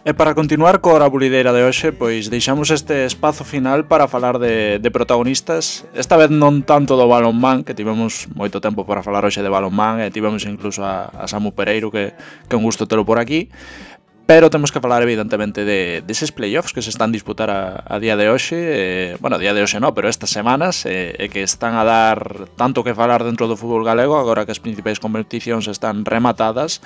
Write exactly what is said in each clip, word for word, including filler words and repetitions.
E para continuar coa hora bulideira de hoxe, pois deixamos este espazo final para falar de, de protagonistas. Esta vez non tanto do balonmán, que tivemos moito tempo para falar hoxe de balonmán, e tivemos incluso a, a Samu Pereiro, que, que é un gusto telo por aquí. Pero temos que falar evidentemente de deses playoffs que se están a disputar a, a día de hoxe, eh, bueno, a día de hoxe non, pero estas semanas, e eh, que están a dar tanto que falar dentro do fútbol galego, agora que as principais competicións están rematadas.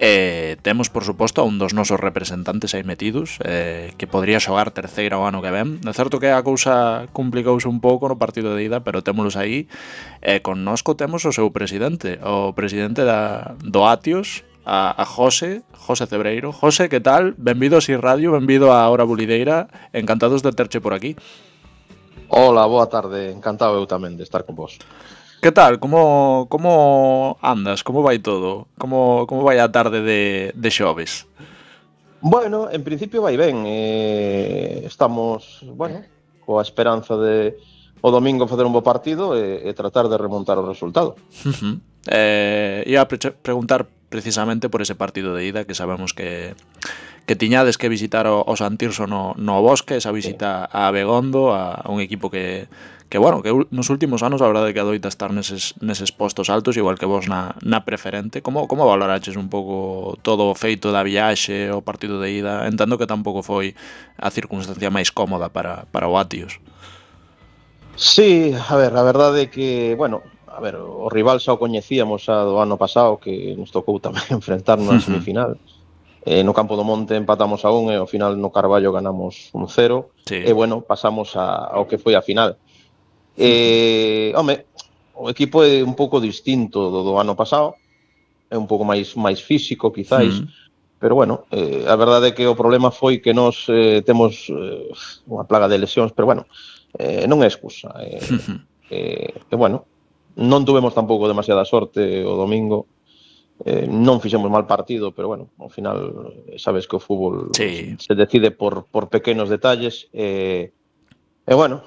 Eh, temos, por suposto, a un dos nosos representantes aí metidos, eh, que podría xogar terceira o ano que ven. É certo que a cousa complicouse un pouco no partido de ida, pero témolos aí. E eh, con nosco temos o seu presidente, o presidente da, do Atios, a, a José, José Cebreiro. José, que tal? Benvido a Si Radio, benvido a Hora Bulideira. Encantados de terche por aquí. Hola, boa tarde. Encantado eu tamén de estar con vos. Que tal? Como, como andas? Como vai todo? Como, como vai a tarde de, de xoves? Bueno, en principio vai ben. Eh, estamos, bueno, coa esperanza de o domingo facer un bo partido e, e tratar de remontar o resultado. Uh-huh. Eh, ia a pre- preguntar precisamente por ese partido de ida, que sabemos que que tiñades que visitar o, o Santirso no, no Bosque, esa visita a Abegondo, a, a un equipo que, que bueno, que nos últimos anos a verdade que adoita estar neses, neses postos altos, igual que vos na, na preferente. Como, como valoraches un pouco todo o feito da viaxe, o partido de ida? Entendo que tampouco foi a circunstancia máis cómoda para, para o Atios. Sí, a ver, a verdade é que, bueno, a ver, o rival xa o coñecíamos xa do ano pasado, que nos tocou tamén enfrentarnos na semifinal. Eh, no Campo do Monte empatamos a un e ao final no Carballo ganamos un cero. Sí. E bueno, pasamos a, ao que foi a final. Eh, home, o equipo é un pouco distinto do do ano pasado, é un pouco máis máis físico quizáis, mm. pero bueno, eh, a verdade é que o problema foi que nós eh, temos eh, unha plaga de lesións, pero bueno, eh, non é excusa. Eh, eh, e bueno, non tuvemos tampouco demasiada sorte o domingo. Eh, non fixemos mal partido, pero bueno, ao final sabes que o fútbol sí. se decide por, por pequenos detalles e, e bueno,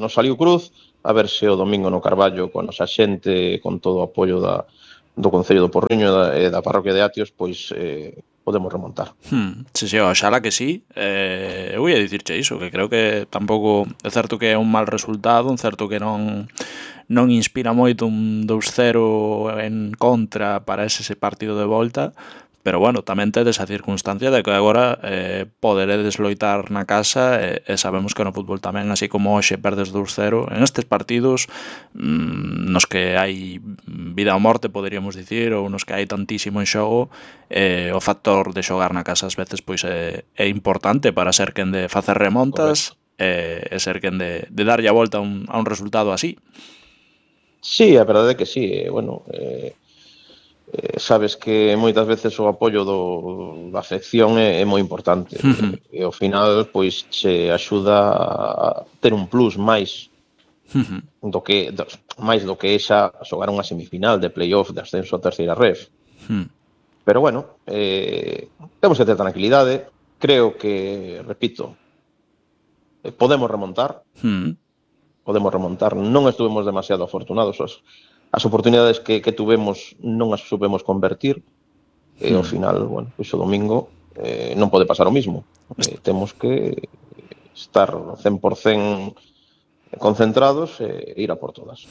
nos saliu cruz. A ver se o domingo no Carballo, con a nosa xente, con todo o apoio da, do Concello do Porriño e da, e da parroquia de Atios, pois eh, podemos remontar. Hmm, sí, sí, oxala que sí. Eh, eu ia dicirche iso, que creo que tampouco é certo que é un mal resultado, un certo que non non inspira moito un dous cero en contra para ese partido de volta, pero bueno, tamén tedes a circunstancia de que agora eh, poderedes loitar na casa e, e sabemos que no fútbol tamén, así como hoxe perdes dous cero, en estes partidos mmm, nos que hai vida ou morte, poderíamos dicir, ou nos que hai tantísimo en xogo, eh, o factor de xogar na casa ás veces pois é, é importante para ser quen de facer remontas e, e ser quen de, de darlle a volta a un, a un resultado así. Sí, a verdade é que sí, eh, bueno, eh, eh, sabes que moitas veces o apoio do, da afección é, é moi importante. Uh-huh. E, e ao final, pois, se axuda a ter un plus máis uh-huh. do que do, máis do que xa xogar unha semifinal de playoff de ascenso a terceira ref. Uh-huh. Pero bueno, eh, temos que ter tranquilidade. Creo que, repito, eh, podemos remontar. Uh-huh. podemos remontar, non estuvemos demasiado afortunados, as, as oportunidades que, que tuvemos non as supemos convertir, e ao final, bueno, pois o domingo eh, non pode pasar o mismo, eh, temos que estar cen por cento concentrados e ir a por todas.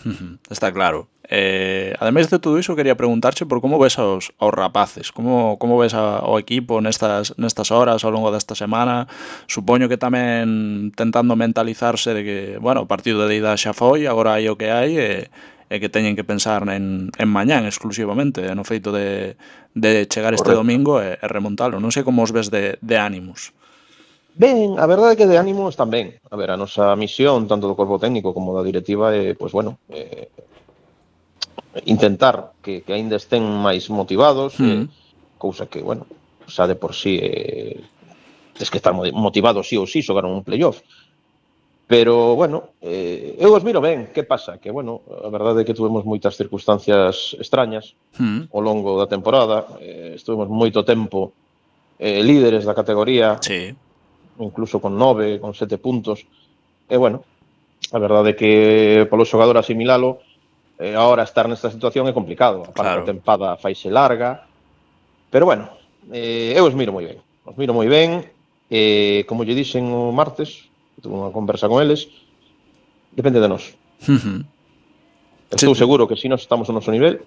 Está claro. Eh, ademais de todo iso, quería preguntarche por como ves aos, aos rapaces, como, como ves a, ao equipo nestas, nestas horas ao longo desta semana. Supoño que tamén tentando mentalizarse de que, bueno, o partido de ida xa foi, agora hai o que hai e, e que teñen que pensar en, en mañán exclusivamente, no feito de, de chegar este Correcto. Domingo e, e remontalo. Non sei como os ves de, de ánimos. Ben, a verdade é que de ánimo están ben. A ver, a nosa misión, tanto do corpo técnico como da directiva, é, pois bueno, eh, intentar que, que aínda estén máis motivados, mm. eh, cousa que, bueno, xa de por sí eh, tens que estar motivados sí ou sí, xogar un playoff. Pero, bueno, eh, eu os miro ben. Que pasa? Que, bueno, a verdade é que tuvemos moitas circunstancias extrañas mm. ao longo da temporada. Eh, estuvemos moito tempo eh, líderes da categoría. Sí. Incluso con nove, con sete puntos. E, bueno, a verdade é que polo xogador asimilalo, eh, ahora estar nesta situación é complicado. A parte claro. A tempada faise larga. Pero, bueno, eh, eu os miro moi ben. Os miro moi ben, e, como lle dixen o martes, tuve unha conversa con eles, depende de nós. Uh -huh. Estou Sí, seguro que se nós estamos no noso nivel,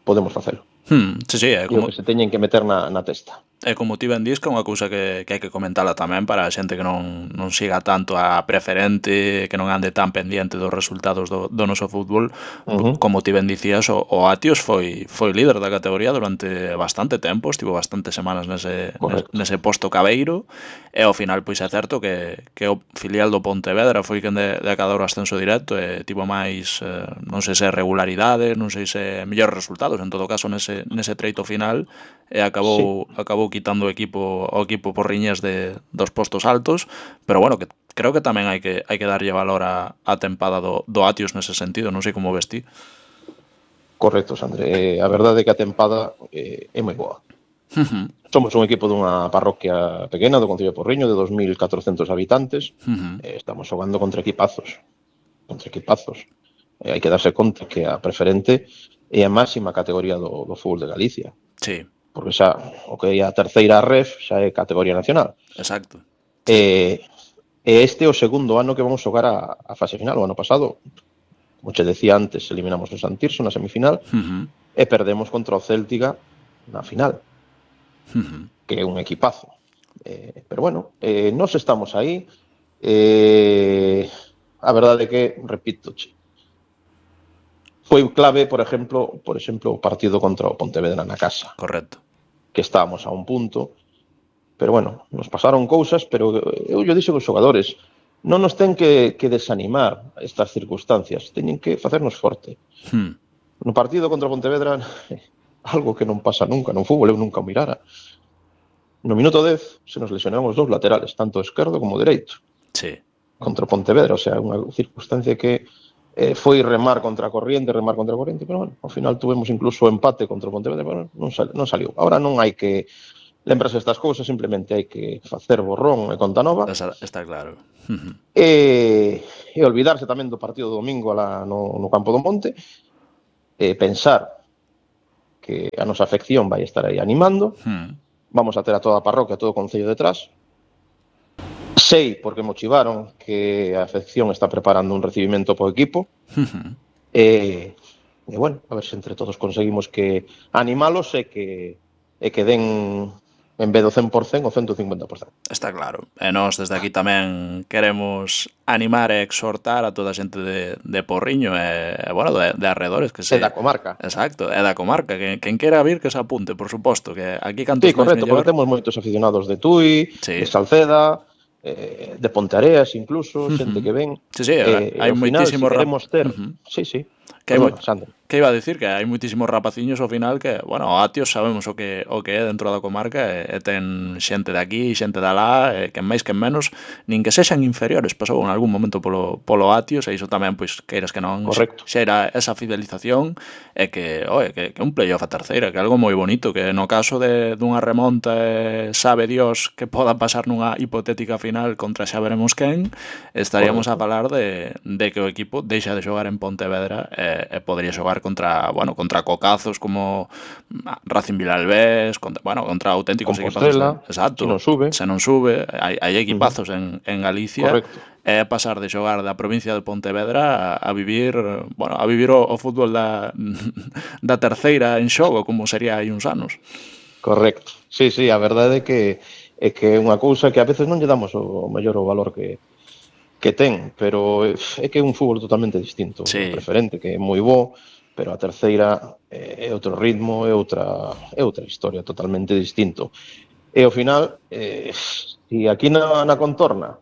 podemos facelo. Hmm, sí, sí, é E o como, que se teñen que meter na, na testa. é como ti ben dis, que é unha cousa que, que hai que comentala tamén para a xente que non, non siga tanto a preferente, que non ande tan pendiente dos resultados do, do noso fútbol. Uh -huh. Como ti ben dicías, o, o Atios foi foi líder da categoría durante bastante tempo, estivo bastantes semanas nese, nese, nese posto cabeiro, e ao final pois é certo que, que o filial do Pontevedra foi quen de, de acadar o ascenso directo e tivo máis, eh, non sei se regularidades, non sei se mellores resultados, en todo caso nese, nese treito final, e acabou, sí. acabou quitando o equipo o equipo por riñas de, dos postos altos, pero bueno, que creo que tamén hai que hai que darlle valor a, a tempada do, do Atios nese sentido, non sei como ves ti. Correcto, Sandre. Eh, a verdade é que a tempada eh, é moi boa. Uh -huh. Somos un equipo dunha parroquia pequena do Concello de Porriño de dos mil catrocentos habitantes. Uh -huh. eh, estamos xogando contra equipazos. Contra equipazos. Eh, hai que darse conta que a preferente é a máxima categoría do, do fútbol de Galicia. Sí. Porque xa o que é a terceira ref xa é categoría nacional. Exacto. Sí. Eh, e este é o segundo ano que vamos xogar a, a fase final. O ano pasado, como che decía antes, eliminamos o Santirso na semifinal, uh -huh. e perdemos contra o Céltiga na final, uh -huh. que é un equipazo. Eh, pero bueno, eh, nós estamos aí. Eh, a verdade é que, repito, che, foi clave, por exemplo, por exemplo, o partido contra o Pontevedra na casa. Correcto. Que estábamos a un punto, pero bueno, nos pasaron cousas, pero eu lle dixo aos xogadores, non nos ten que, que desanimar estas circunstancias, teñen que facernos forte. Hmm. No partido contra o Pontevedra, algo que non pasa nunca, no fútbol eu nunca o mirara. No minuto dez se nos lesionaron os dous laterales, tanto esquerdo como dereito. Sí. Contra o Pontevedra, o sea, unha circunstancia que eh, foi remar contra a corriente, remar contra a corriente, pero bueno, ao final tuvemos incluso empate contra o Pontevedra, pero non, sal, non saliu. Ahora non hai que lembrarse estas cousas, simplemente hai que facer borrón e conta nova. Está, está claro. e, e olvidarse tamén do partido do domingo alá no, no Campo do Monte, e pensar que a nosa afección vai estar aí animando, hmm. vamos a ter a toda a parroquia, todo o concello detrás. Sei, porque motivaron, que a afección está preparando un recibimento po equipo. Uh-huh. E, e, bueno, a ver se entre todos conseguimos que animalos e que, e que den, en vez do cen por cen, o ciento cincuenta por cen. Está claro. E nós desde aquí tamén queremos animar e exhortar a toda a xente de, de Porriño e, bueno, de, de arredores. Que se... E da comarca. Exacto, e da comarca. Que, quen quera vir que se apunte, por suposto. Que aquí cantos sí, correcto, porque temos moitos aficionados de Tui, sí. de Salceda, eh, de Ponteareas incluso, uh-huh. xente que ven. Sí, sí, eh, hai moitísimos... Si queremos ter... Uh-huh. Sí, sí. Que, hai, bueno, que iba a decir que hai moitísimos rapaciños ao final que, bueno, o Atios sabemos o que o que é dentro da comarca e, e ten xente de aquí, xente de alá, e que máis que menos, nin que sexan inferiores, pasou en algún momento polo, polo Atios, e iso tamén, pois, queiras que non, correcto. Xera esa fidelización, e que, oe, que, que un playoff a terceira, que é algo moi bonito, que no caso de dunha remonta, eh, sabe Dios que poda pasar nunha hipotética final contra xa veremos quen, estaríamos correcto. A falar de, de que o equipo deixa de xogar en Pontevedra e e podría xogar contra, bueno, contra cocazos como Racing Vilalbés, contra, bueno, contra auténticos equipazos. Exacto. Se non sube. Se non sube, hai, hai equipazos uh-huh. en, en Galicia. Correcto. É pasar de xogar da provincia de Pontevedra a, a vivir, bueno, a vivir o, o fútbol da, da terceira en xogo, como sería hai uns anos. Correcto. Sí, sí, a verdade é que é que é unha cousa que a veces non lle damos o mellor o valor que que ten, pero é que é un fútbol totalmente distinto, sí. preferente, que é moi bo, pero a terceira é outro ritmo, é outra é outra historia totalmente distinto. E ao final, eh, se aquí na, na contorna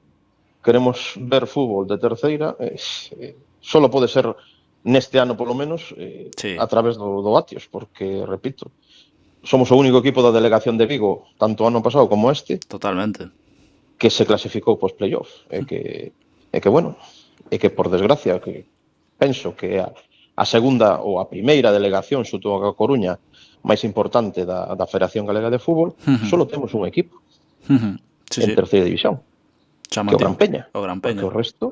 queremos ver fútbol de terceira, eh, solo pode ser neste ano polo menos eh, sí. a través do, do Atios, porque, repito, somos o único equipo da delegación de Vigo, tanto ano pasado como este, totalmente, que se clasificou pos playoff, e que é que, bueno, é que, por desgracia, que penso que a, a segunda ou a primeira delegación xuto a Coruña máis importante da, da Federación Galega de Fútbol, uh-huh. solo temos un equipo uh-huh. sí, en sí. terceira división, Chamativo. que o Gran Peña. O Gran Peña. Porque o resto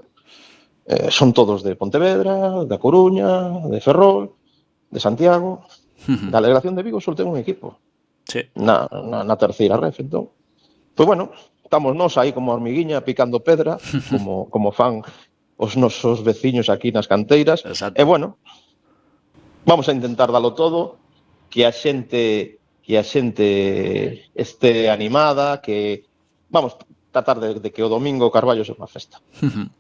eh, son todos de Pontevedra, da Coruña, de Ferrol, de Santiago. Uh-huh. Da delegación de Vigo solo ten un equipo. sí. na, na, na terceira ref, entón. Pois bueno, estamos nós aí como hormiguiña picando pedra, como, como fan os nosos veciños aquí nas canteiras, Exacto. e bueno, vamos a intentar dalo todo, que a xente que a xente este animada, que vamos tratar de, de que o domingo o Carballo sexa unha festa.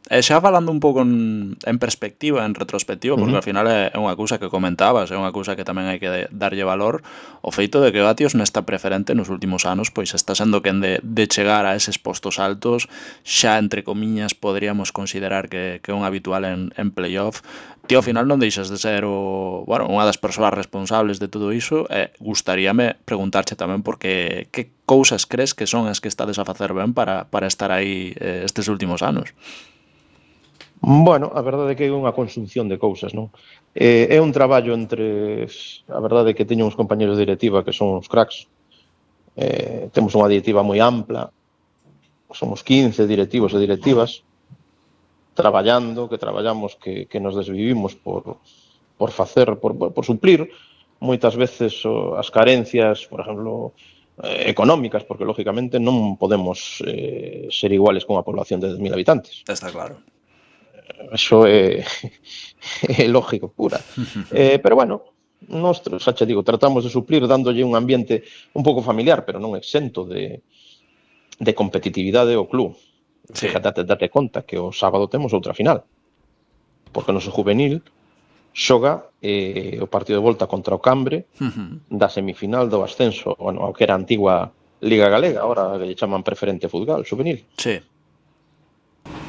E xa falando un pouco en, en perspectiva, en retrospectiva, porque Uh-huh. ao final é unha cousa que comentabas, é unha cousa que tamén hai que darlle valor, o feito de que Batios nesta preferente nos últimos anos pois está sendo quen de, de chegar a eses postos altos, xa entre comiñas poderíamos considerar que, que é un habitual en, en playoff. Ti ao final non deixas de ser o, bueno, unha das persoas responsables de todo iso, e gustaríame preguntarche tamén porque que cousas crees que son as que estades a facer ben para, para estar aí eh, estes últimos anos? Bueno, a verdade é que é unha consunción de cousas, non? Eh, é un traballo entre... A verdade é que teño uns compañeros de directiva que son uns cracks. Eh, temos unha directiva moi ampla. Somos quince directivos e directivas traballando, que traballamos, que, que nos desvivimos por, por facer, por, por suplir moitas veces o, as carencias, por exemplo, eh, económicas, porque lógicamente non podemos eh, ser iguales con unha población de dez mil habitantes. Está claro. Eso é, é lógico, pura. Eh, pero bueno, nós, xa che digo, tratamos de suplir dándolle un ambiente un pouco familiar, pero non exento de, de competitividade ao club. Sí. Fíjate, date conta que o sábado temos outra final, porque o noso juvenil xoga eh, o partido de volta contra o Cambre Uh-huh. da semifinal do ascenso, bueno, ao que era a antigua Liga Galega, agora lle chaman Preferente Futbol Juvenil. Sí.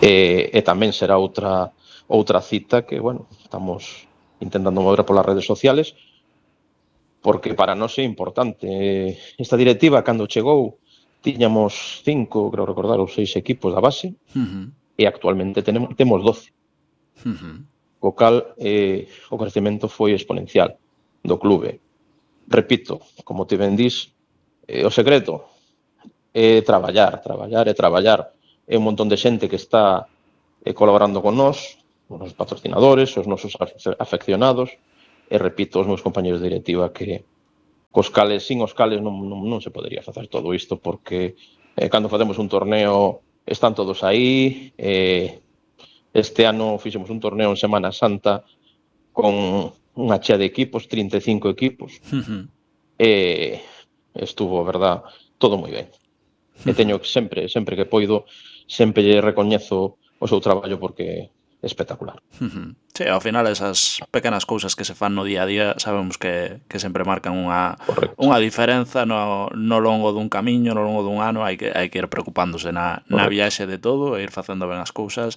E, e tamén será outra outra cita que, bueno, estamos intentando mover polas redes sociales, porque para nós é importante. Esta directiva, cando chegou, tiñamos cinco, creo recordar, ou seis equipos da base, Uh-huh. e actualmente tenemos, temos doce. Uh-huh. Co cal, eh, o crecemento foi exponencial do clube. Repito, como te ben dís, eh, o secreto é traballar, traballar e traballar. É un montón de xente que está eh, colaborando con nós, os nosos patrocinadores, os nosos afeccionados, e repito, os meus compañeros de directiva que cos cales, sin os cales non, non, non se podería facer todo isto, porque eh, cando facemos un torneo están todos aí. Eh, este ano fixemos un torneo en Semana Santa con unha chea de equipos, trinta e cinco equipos, Uh-huh. e estuvo, a verdad, todo moi ben. E teño que sempre, sempre que poido, sempre lle recoñezo o seu traballo porque é espectacular. Uh-huh. Sí, ao final esas pequenas cousas que se fan no día a día sabemos que, que sempre marcan unha, unha diferenza no, no longo dun camiño, no longo dun ano. Hai que, hai que ir preocupándose na, na viaxe de todo e ir facendo ben as cousas.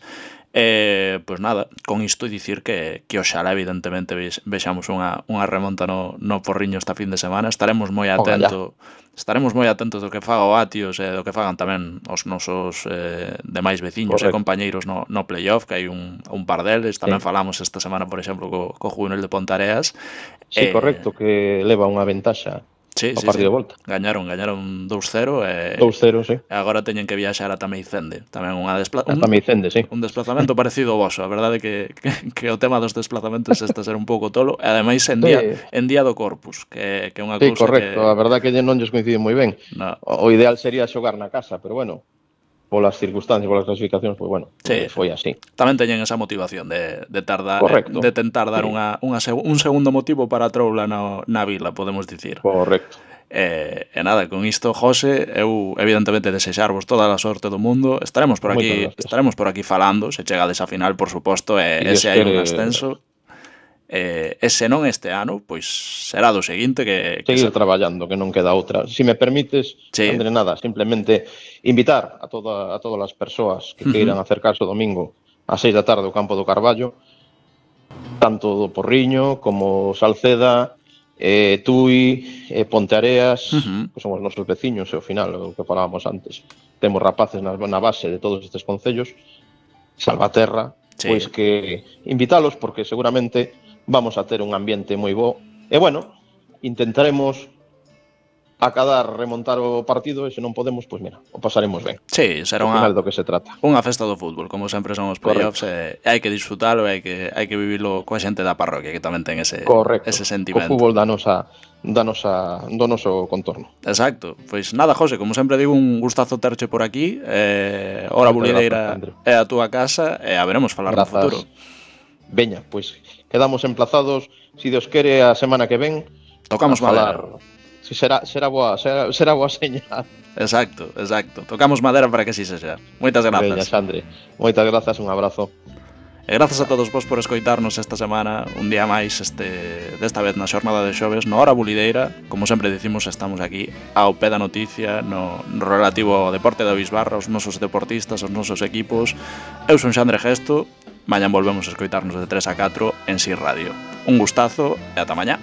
E, pois nada, con isto dicir que, que oxalá evidentemente vexamos unha, unha remonta no, no Porriño esta fin de semana. Estaremos moi atentos estaremos moi atentos do que faga o Batios e do que fagan tamén os nosos eh, demais veciños e compañeiros no, no playoff, que hai un, un par deles. Tamén sí. Falamos esta semana, por exemplo, co, co Juvenil de Pontareas. Sí, eh, correcto, que leva unha ventaxa. Sí, o sí, partido sí. de volta. Gañaron, gañaron dous cero e dous cero, sí. E agora teñen que viaxar ata Meicende, tamén unha despla... un, Meicende, sí. un desplazamento parecido ao voso. A verdade é que, que, que o tema dos desplazamentos está a ser un pouco tolo, e ademais en día, sí. en día do Corpus, que, que é unha sí, cousa correcto. que... A verdade que non lles coincide moi ben. No. O, o ideal sería xogar na casa, pero bueno, polas circunstancias, polas clasificacións, pois bueno, sí, foi así. Tamén teñen esa motivación de, de tardar, Correcto. de tentar dar sí. unha, unha, un segundo motivo para a troula na, na vila, podemos dicir. Correcto. E, e nada, con isto, José, eu evidentemente desexarvos toda a sorte do mundo. Estaremos por aquí, estaremos por aquí falando, se chegades a final, por suposto, e, e se hai un ascenso. E, e se non este ano, pois será do seguinte que... que Seguir se... traballando, que non queda outra. Si me permites, sí. André, nada, simplemente invitar a, toda, a todas as persoas que queiran uh-huh. acercarse o domingo a seis da tarde ao campo do Carballo, tanto do Porriño como Salceda, eh, Tui, eh, Ponteareas, uh-huh. que son os nosos veciños, e ao final, o que falábamos antes, temos rapaces na, na base de todos estes concellos, Salvaterra, sí. Pois que invitalos, porque seguramente vamos a ter un ambiente moi bo. E bueno, intentaremos acadar remontar o partido e se non podemos, pois mira, o pasaremos ben. Sí, será Ao unha, final do que se trata. unha festa do fútbol, como sempre son os playoffs, e hai que disfrutalo e hai que, hai que vivilo coa xente da parroquia, que tamén ten ese, Correcto. ese Co sentimento. fútbol da nosa, da nosa, do noso contorno. Exacto. Pois nada, José, como sempre digo, un gustazo terche por aquí. Eh, Hora Bulideira é a túa casa e a veremos falar Grazas. no futuro. Veña, pois quedamos emplazados, si Dios quere, a semana que ven. Tocamos madera. Si será, será boa, será, será boa señal. Exacto, exacto. Tocamos madera para que así se xa. Moitas grazas. Veña, Xandre. Moitas grazas, un abrazo. E grazas a todos vos por escoitarnos esta semana, un día máis, este, desta vez na xornada de xoves, no Hora Bulideira. Como sempre dicimos, estamos aquí ao pé da noticia, no, no relativo ao deporte da Bisbarra, os nosos deportistas, os nosos equipos. Eu son Xandre Gesto, mañan volvemos a escoitarnos de tres a catro en Si Radio. Un gustazo e ata mañá.